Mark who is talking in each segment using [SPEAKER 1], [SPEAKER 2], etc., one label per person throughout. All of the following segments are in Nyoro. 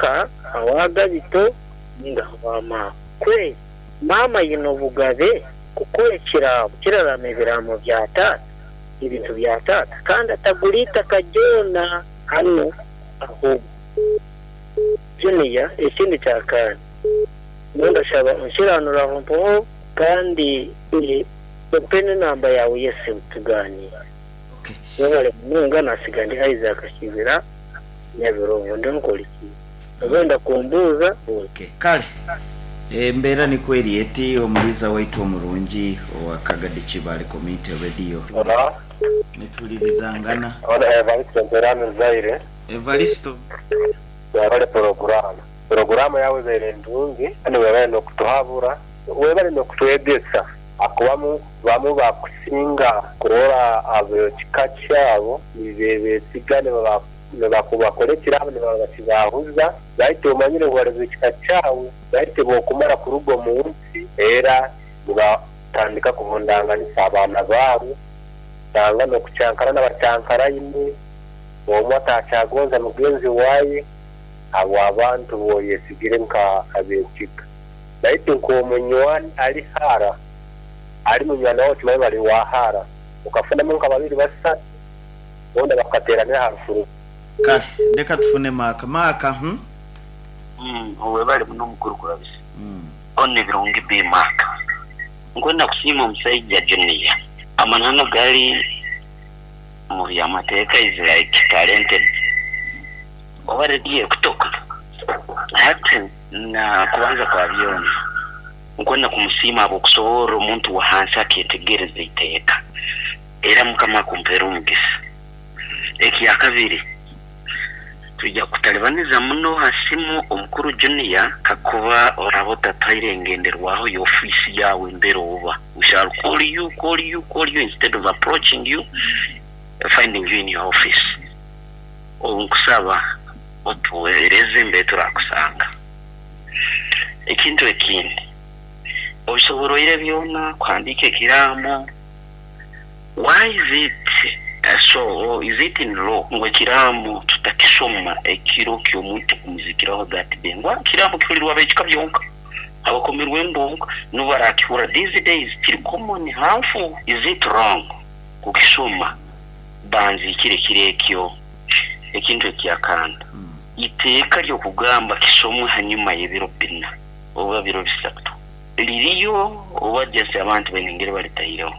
[SPEAKER 1] Omuka awa Gabito ninga awa maama. Kweri maama aine obugabe kukora ekiraamo kiraraama ebiraamo bya taata, ebintu bya taata kandi atagura itaka ryona hanu ahobwo. Junior, Ekindi kya kaana, nyowe ndashaba onkiranure aho mpoho kandi ompe n'enamba yaawe y'esimu tugaaniire. Webale munonga nasiga ndi Isaac Kibira Nyabirobo ndi nkoriki oba oyenda kumbuuza buuza.
[SPEAKER 2] Kale embeera nikwo eri eti, omuliiza waitu omurungi owa Kagadi Kibaale Community Radio. Nituhulirizangana.
[SPEAKER 3] Evaristo Mperani Zaire.
[SPEAKER 2] Evaristo.
[SPEAKER 3] Webale puroguramu. Puroguramu yawe ebaire ndungi kandi webale nokutuhabura, webale nokutwegesa ahakuba bamu bakusinga kurora abekika kyabo nibebesiga nibakubakora ekirabo nibaba bakibahuza baitu omanyire ngu bali bekika kyawe baitu bwokumara kuruga omunsi era nibatandika kuhundanganisa abaana baabo osanga nokukyankara nabakyankaraine. Omwe atakyagonza mugenzi waye habw'abantu b'oyesigire nka ab'ekika. Baitu nk'omunywani ali hara, ali munywani wawe okimanyi bali wa hara, okafunamu nka babiri basatu boona bakateranira ha rufu rumu.
[SPEAKER 2] Kale leka tufune Maaka. Maaka, hmm.
[SPEAKER 4] Webale muno mukuru Kurabisa. Ona ebirungi bi Maaka. Nkwenda kusiima omusaija Junior. Amananu gali. Omu by'amateeka is like talented oba rediyo ekutoka hati na kubanza kwa byona nkwenda kumusiima ahabw'okusoborra omuntu wa hansi aketegereza iteeka era mukama akumpeere omugisa. Ekyakabiri twija kutalibaniza muno ha simu omukuru Junior kakuba oraba otatuhaire engenderwaho y'ofiisi yaawe mbere oba. We shall call you, call you, call you instead of approaching you, finding you in your office. Obu nkusaba otuhereze mbere turakusanga. Ekintu ekindi, obisoboroire byona kuhandiika ekiraamo, why is it so or is it in law ngu ekiraamo tutakisoma ekiro ky'omuntu kumuzikiraho that day? Ngu ekiraamo kihulirwa ab'ekika byonka. Abakomirwemu bonka nibo barakihurra these days kiri common harmful is it wrong kukisoma banziikire kiro ekyo? Ekintu ekyakanda iteeka ryokugamba kisomwe hanyuma yebiro bina oba biro bisatu ririyo oba just abantu baine engeri baritaireho?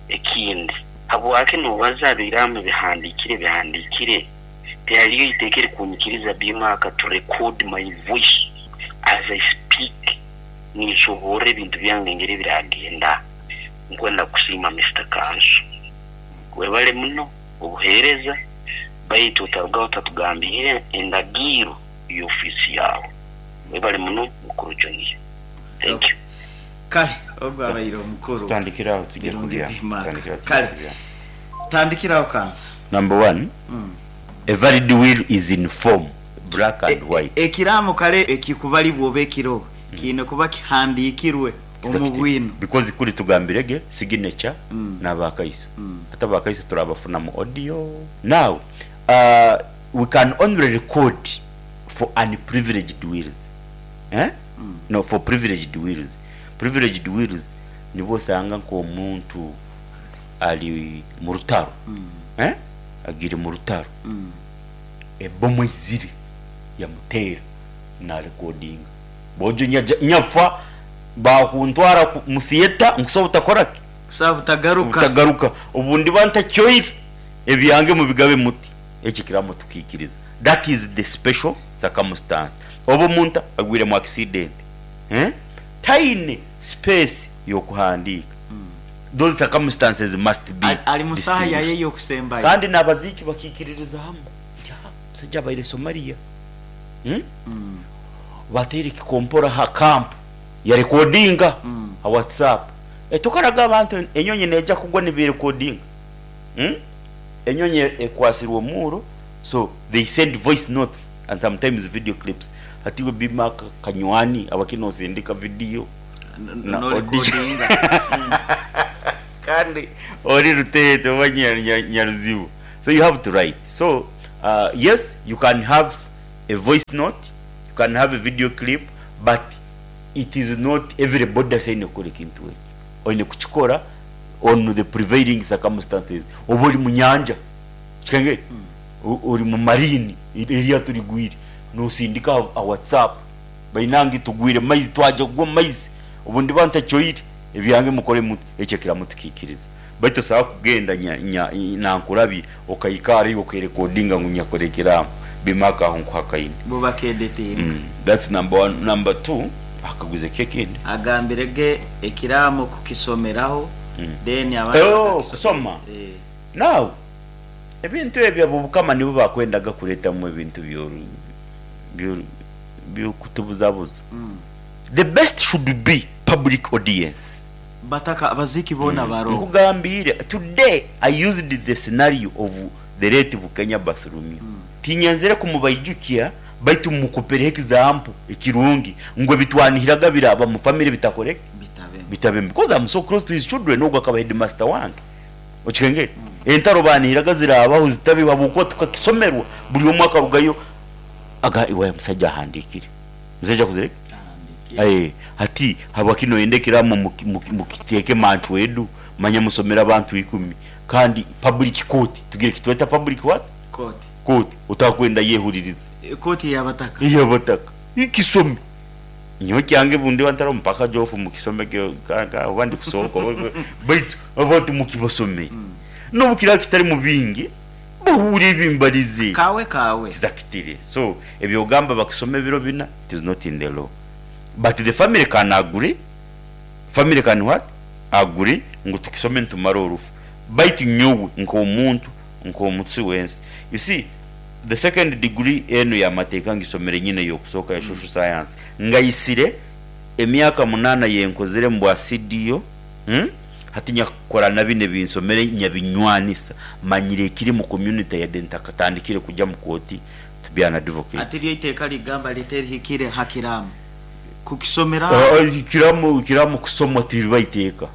[SPEAKER 4] Ekindi habwaki nobaza biramu bihandikire bihandikire Tihariyo iteeka erikunyikiriza Bimaaka to record my voice as I speak ninshoboorora ebintu byange engeri ebiragenda. Nkwenda kukusiima Mister Kanso. Webale muno obuheereza baitu otarugaho otatugambiire endagiiro y'ofiisi yaawe. Webale muno Mukuru Junior. Thank you.
[SPEAKER 2] Kale ogwo abaire omukuru
[SPEAKER 5] Tutandikire aho tuje
[SPEAKER 2] Birungi
[SPEAKER 5] kulya.
[SPEAKER 2] Bimaaka.
[SPEAKER 5] Tutandikire aho tuje
[SPEAKER 2] Kale
[SPEAKER 5] kulya.
[SPEAKER 2] tandikiraho Kanso.
[SPEAKER 5] Number one, a valid will is in form, black and white.
[SPEAKER 2] Ekiraamo kale ekikubalibwa oba ekiro kiine kuba kihandiikirwe omu bwino.
[SPEAKER 5] Because kuri tugambire ge signature n'abakaiso. Ate abakaiso turabafuna mu audio. Now, we can only record for unprivileged wills. Eh? No, for privileged wills. Privileged wills nibwo osanga nk'omuntu ali mu rutaro, eh? Agiire mu rutaro, ebomu eizire yamuteera narekodinga. Boojo nyaja nyafa baakuntwara mu theatre nkusobola butakora ki?
[SPEAKER 2] Kusobola butagaruka.
[SPEAKER 5] Butagaruka. Obu ndiba ntakyoire, ebyange mubigabe muti. Ekyo ekiraamo tukiikiriza. That is the special circumstance. Oba omuntu agwire mu accident, eh? Taine space y'okuhandiika. Those circumstances must be
[SPEAKER 2] Ali mu saaha yaye
[SPEAKER 5] distinguished.
[SPEAKER 2] ey'okusembayo.
[SPEAKER 5] Kandi n'abaziiki bakiikiririza hamu nti, Ha, omusaija abaire Somalia. Hmm? Bateire ekikompora ha camp, yarekodinga ha WhatsApp. Eh, tokaraga abantu enyonyi neija kugwa niberekodinga. Hmm? Enyonyi ekwasirwe omuuro, so they send voice notes and sometimes video clips. Hati iwe Bima Kanywani abaki nosindika video na audio.
[SPEAKER 2] Norekodinga.
[SPEAKER 5] Kandi ori Ruteete oba Nyaruzibu. So you have to write. So yes, you can have. a voice note, you can have a video clip, but it is not everybody asaine kukora ekintu eki. Oine kukikora on the prevailing circumstances. Oba ori mu nyanja, kikengeri, ori mu marine, eryato rigwire, nosindika aha WhatsApp, bainange tugwire mu maizi, twaja kugwa mu maizi, obu ndiba ntakyoire, ebyange mukore muti, ekyo ekiramu tukiikiriza. Baitu tosobola kugenda nankurabye okaikara iwe okerekodinga ngu nyakora ekiraamo, Bimaka aho nkuhakaine.
[SPEAKER 2] Bo bakedetinga.
[SPEAKER 5] That's number one. Number two, akaguze ki ekindi?
[SPEAKER 2] Agambire ge ekiraamo kukisomeraho then abandi
[SPEAKER 5] Oh,
[SPEAKER 2] bakakisomera.
[SPEAKER 5] kusoma. Now, ebintu ebyo ab'Obukama nibo bakwendaga kuretamu ebintu by'okutubuzabuza. The best should be public audience.
[SPEAKER 2] Bataka abaziki boona baroho.
[SPEAKER 5] Nkugambiire, today I used the scenario of the late Bukenya Bartholomew. Tinyenzere kumubaijukya baitu mukupereho example ekirungi ngu ebitwanihiraga biraba mu family bitakoreki?
[SPEAKER 2] Bitabemu.
[SPEAKER 5] Bitabemu. Because I'm so close to his children, ogu akaba headmaster wange. Okikengere? Entaro banihiraga zirabaho zitabeho habwokuba tukakisomerwa buri omwe akarugayo aga iwe musaija ahandikire. Musaija akozire ki?
[SPEAKER 2] Ahandikire.
[SPEAKER 5] Hati habwaki noyenda ekiraamo mukiteeke manchu edu manya musomere abantu ikumi kandi public court tugire kitweta public what?
[SPEAKER 2] Court.
[SPEAKER 5] Court otakwenda yehuririza.
[SPEAKER 2] Court eyabataka.
[SPEAKER 5] Eyabataka. Ikisome. Nyowe kyange bundi wantara mpaka jofu mukisome oba ndi kusohoka baitu abantu mukibasomere. N'obu kiraba kitari mu bingi bahure ebimbarize.
[SPEAKER 2] Kawe kawe.
[SPEAKER 5] Exactly. So ebyogamba bakisome ebiro bina, it is not in the law. But the family can agree. Family can what? Agree ngu tukisome nitumara orufu. Baitu nyowe nk'omuntu, nk'omutsi w'ensi. You see, the second degree enu y'amateeka ngisomere nyine y'okusooka ya social science. Ngaisire emyaka 8 yenkozire mu bwa CDO, Hati nyakukora na binu ebinsomere nyabinywanisa, manyire ekiri mu community yade ntakatandikire kujya mu kooti to be an advocate.
[SPEAKER 2] Ati ryo iteeka ligamba lita erihikire ha kiraamo kukisomera?
[SPEAKER 5] Ekiraamo kusomwa tiriba iteeka,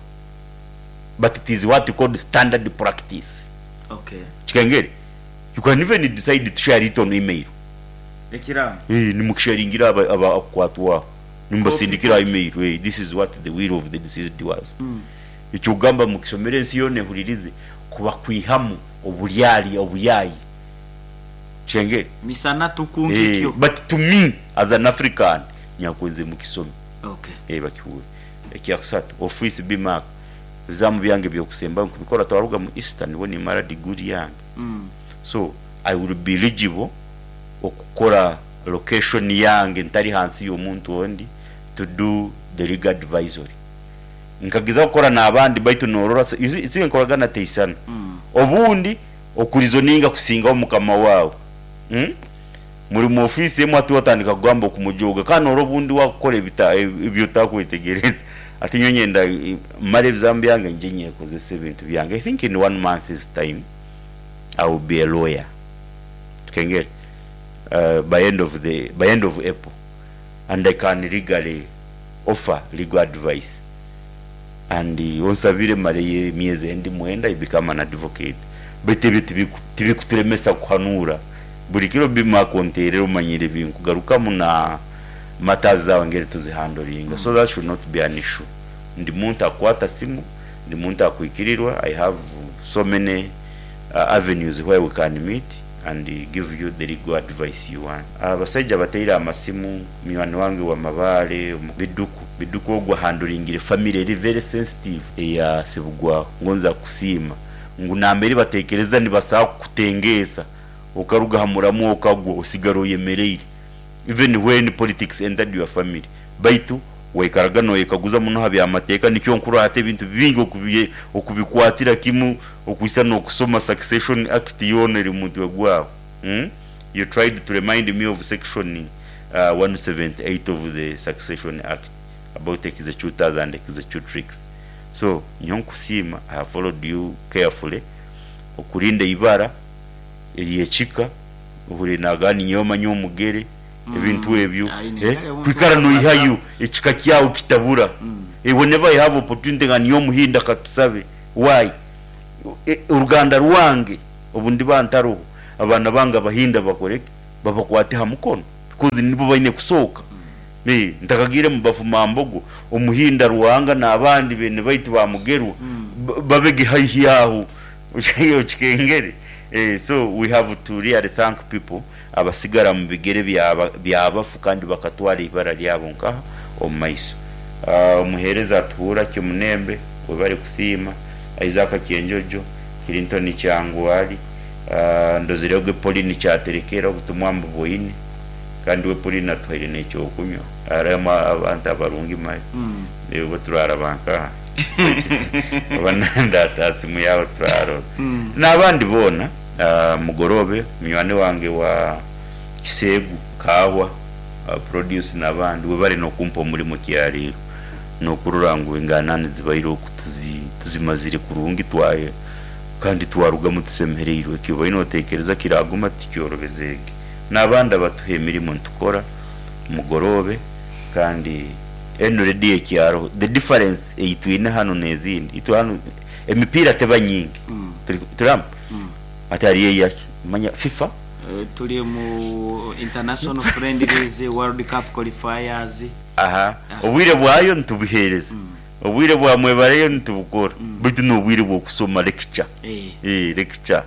[SPEAKER 5] but it is what we call standard practice. Kikengere, you can even decide to share it on email.
[SPEAKER 2] Ekiraamo?
[SPEAKER 5] Nimukisharingira abakwatwaho, nimubasindikira email, this is what the will of the deceased was. Ekyokugamba mukisomere ensi yoona ehuririze, kuba kwihamu oburyarya obuyayi. Kikengere?
[SPEAKER 2] Misana tuku nkikyo.
[SPEAKER 5] But to me as an African, nyakwenze mukisome. Bakihure. Ekyakusatu, office B mark. Ebizamu byange by'okusembayo nkubikora twaruga mu Easter nibwo nimara degree yange. So I will be eligible okukora location yange ntari hansi y'omuntu ondi to do the legal advisory. Nkagezaho kukora n'abandi baitu norora you see, see enkoragana teisana. Obundi okurizoninga kusingaho mukama waawe. Muri mu office emwe ati watandika kugamba okumujoga kandi norora obundi wakukora ebyo otakwetegereza. Ati nyowe nyenda mare ebizamu byange ngye nyekozese ebintu byange. I think in 1 month's time I will be a lawyer. Tukengere. By end of April, and I can legally offer legal advice. And onsabire mare emyezi endi mwenda I become an advocate. Baitu ebyo tibikuturemesa kuhanura. Buri kiro bimakonterera omanyire binkugarukamu na matters zawe ngeri tuzihandlinga. So that should not be an issue. Ndi muntu akwata simu, ndi muntu akwikirirwa. I have so many avenues where we can meet and give you the legal advice you want. Abasaija bateire amasimu, munywani wange wa Mabale, Biduku. Biduku ogwo ahandlingire family eri very sensitive eya Sebugwaho. Ngonza kusiima ngu nambere batekereza nibasaha kukutengeesa, okaruga ha muramu okagwa osigara oyemereire. Even when politics entered your family, baitu waikaraga noyekaguza muno ha byamateeka, nikyo nkurora hati ebintu bingi okubikwatira kimu, okuisa n'okusoma Succession Act yoona eri omu mutwe gwawe. You tried to remind me of section 178 of the Succession Act about executors and executrix. So nyowe nkusiima, I have followed you carefully, okurinda eibara ery'ekika, ohurire nagamba ninyowe manya omugere, ebintu ebyo, kwikara noihayo ekika kyawe kitabura. Whenever I have opportunity nga niyo omuhinda katusabe, why? Oruganda rwange obu ndiba ntaroho, abaana bange abahinda bakoreke? Babakwate ha mukono because nibo baine kusooka. Ntakagiire mu Bafumambogo, Omuhinda Ruhanga n'abandi beene baitu ba Mugerwa babege haihi aho okikengere. So we have to really thank people abasigara mu bigere by'abafu kandi bakatwara eibara ryabo nkaha omu maiso. Omuheereza atuhuura Kyomunembe webare kusiima, Isaac Kyenjojo, Clinton Kyangwali, Ndozirege Pauline Kyaterekera obutumwa mbuboine kandi we Pauline atuhaire n'ekyokunywa. Harimu abantu abarungi mali. Obu turaraba nkaha oba nandata simu yawe turarora. N'abandi boona Mugorobe munywani wange wa Kiseegu, Kaahwa Produce n'abandi webare n'okumpa omurimo kyarero n'okurora ngu enganani zibaire oku tuzimazire kurungi twaye kandi twarugamu tusemereirwe. Eki obaire notekereza kiraguma tikyorobezege. N'abandi abatuha emirimo nitukora Mugorobe kandi enu rediyo ekyaro the difference ei twine hanu n'ezindi itwe hanu emipiira teba nyingi turi hamu hati hariyo eyaki manya FIFA.
[SPEAKER 2] Turi omu international friendlies, world cup qualifiers.
[SPEAKER 5] Aha, obwire bwayo nitubuheereza, obwire bwa mwebareyo nitubukora, baitu n'obwire bw'okusoma lecture, lecture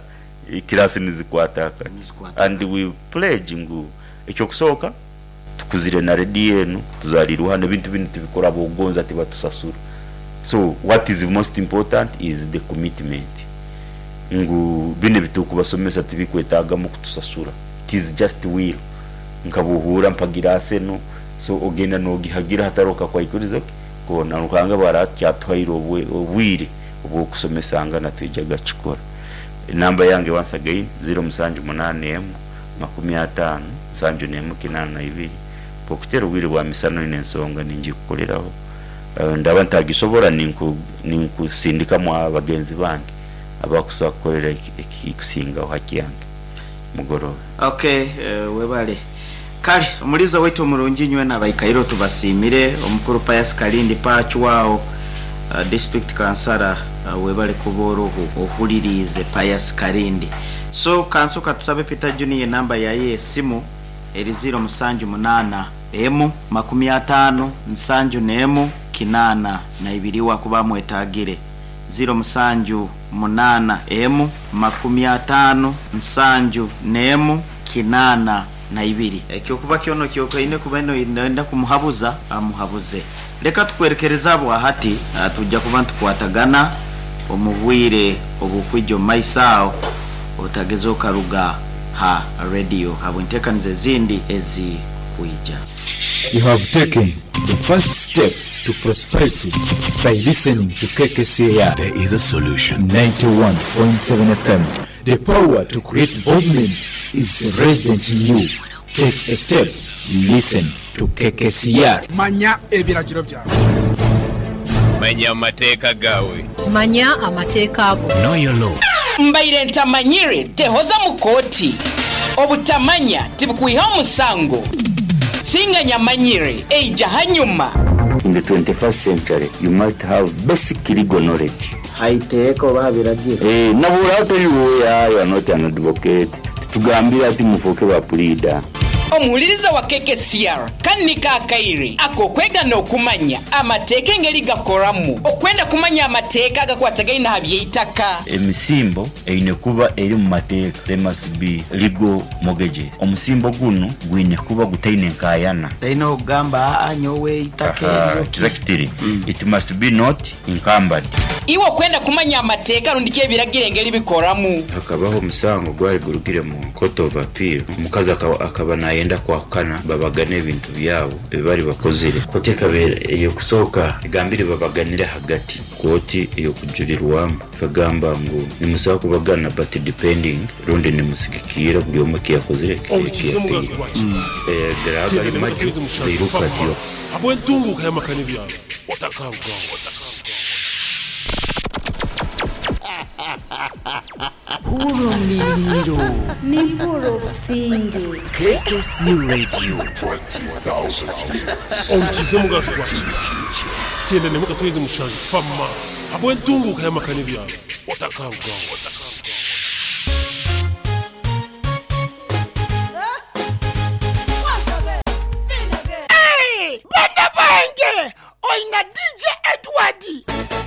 [SPEAKER 5] class nizikwata akati and we pledge ngu eky'okusooka tukuzire na rediyo enu, tuzariirwe hanu, ebintu binu tubikora habw'okugonza tibatusasura. So what is most important is the commitment ngu binu ebiturikubasomesa tibikwetagamu kutusasura, it is just will nka bwohuura mpagira Arsenal so ogenda nogihagira hatariho kakwaikurizo ki koona. Ruhanga bwaraaba akyatuhaire obwire obw'okusomesangana twijaga kukikora. Enamba yange once again ziro musanju munaana emu 50 71 82 bwokutera obwire bwa misana oine ensonga ningikukoreraho ndaba ntagisobora ninkusindikamu abagenzi bange abakusobora kukorera ekikusingaho haki yange. Mugorobe.
[SPEAKER 2] Ok webale. Kale omuliiza waitu omurungi inywena abaikaire tubasiimire, omukuru Pius Kalindi Pacwao district kansara webale kuba oroho ohuririize Pius Kalindi. So kansoka tusabe Peter Junior enamba yaye eyesimu eri ziiro musanju munaana emu 50 71 82 wakuba amwetagire. 0 7 8 1 50 71 82. Ekyokuba kyona okyokaine kuba noyenda kumuhabuza, amuhabuze. Leka tukwerekereze abwa hati, twija kuba nitukwatagana omu bwire obukwija omu maiso aho, otageza okaruga ha rediyo habw'entekaniza ezindi ezikwija.
[SPEAKER 6] You have taken the first step to prosperity by listening to KKCR.
[SPEAKER 7] There is a solution.
[SPEAKER 6] 91.7 FM. The power to create development is resident in you. Take a step. Listen to KKCR.
[SPEAKER 8] Manya ebiragiro byawe.
[SPEAKER 9] Manya amateeka gaawe.
[SPEAKER 10] Manya amateeka go.
[SPEAKER 7] Know your law.
[SPEAKER 11] Mbaire ntamanyire tehoza mu kooti. Obutamanya tibukwiha omusango. Singa nyamanyire eija hanyuma.
[SPEAKER 5] In the 21st century, you must have basic legal knowledge.
[SPEAKER 2] Haiteeka oba habiragiro.
[SPEAKER 5] Nabura otari lawyer, you are not an advocate. Titugambire ati mufuuke ba puriida.
[SPEAKER 11] Omuhuliriza wa KKCR kandi niko akaire ak'okwega n'okumanya amateeka engeri gakoramu. Okwenda kumanya amateeka agakwatagaine aha by'eitaka.
[SPEAKER 5] Emisimbo eine kuba eri omu mateeka, there must be legal mortgages. Omusimbo gunu gwine kuba gutaine nkayana.
[SPEAKER 2] Taine okugamba aa nyowe eitaka eryo ki.
[SPEAKER 5] Kiza kitiri, it must be not encumbered.
[SPEAKER 11] Iwe okwenda kumanya amateeka rundi ki ebiragiro engeri bikoramu.
[SPEAKER 5] Hakabaho omusango gwali gurugire mu Court of Appeal, omukazi akaba nayenda kwahukana babagane ebintu byabo ebi bari bakozire. Kooti ekaba ey'okusooka egambire babaganire ahagati. Kooti ey'okujurirwamu ekagamba ngu nimusobola kubagana but depending rundi nimusigikiira buri omwe eki yakozire eki
[SPEAKER 12] Orukiza omugazi
[SPEAKER 5] yateire.
[SPEAKER 12] gwa Kibaale.
[SPEAKER 5] Garaba
[SPEAKER 12] Tenda
[SPEAKER 5] gari
[SPEAKER 12] nemu
[SPEAKER 5] maju
[SPEAKER 12] Katwezi Mushanju
[SPEAKER 5] gairuka
[SPEAKER 12] Fama
[SPEAKER 5] atyo.
[SPEAKER 12] habw'entunguuka y'amaka n'ebyaro otakarugaho.
[SPEAKER 13] Hurra omuliiriiro.
[SPEAKER 14] Nimpurra obusinge.
[SPEAKER 13] KKC Radio.
[SPEAKER 12] Orukiza omugazi gwa Kibaale. Tenda nemu Katwezi Mushanju Fama habw'entunguuka y'amaka n'ebyaro otakarugaho.
[SPEAKER 7] Obwenge oina DJ Edward.